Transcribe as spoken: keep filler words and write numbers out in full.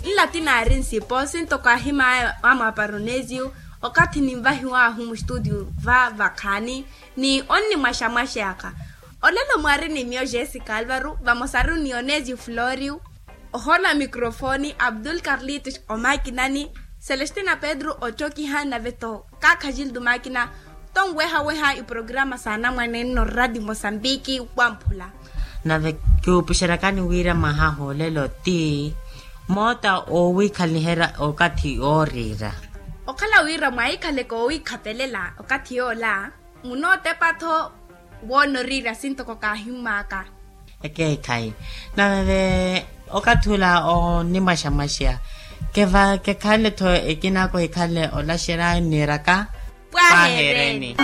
Nla ti naari nsipo sintoko ahimaya wa mwaparonesiyu okathi ninvahiwahu mustutio va vakhaani ni onnimwaxamwaxeyaka. Olelo mwaari ni miyo jessica alvaru vamosaru ni onesiyu florio, ohola mikrofoni abdul carlitos omakinani, celestina pedro otthokiha nave-tho kaakha gildo makina. Tonwehaweha iprograma saanamwane nno rati mosambiki wamphula. Nave kiwupuxerakani wira mwaha hoolelo ti moota owiikhaliherya okathi ooriira. Okhala wira mwaikhaleke owiikhapelela okathi yoola munootepa-tho woona oriira sintoko kaahimmaka. Ekeekhayi nave okathi ula onimwaxamwaxeya keva kekhale-tho ekina kohikhale olaxerya niiraka. Pwahereni.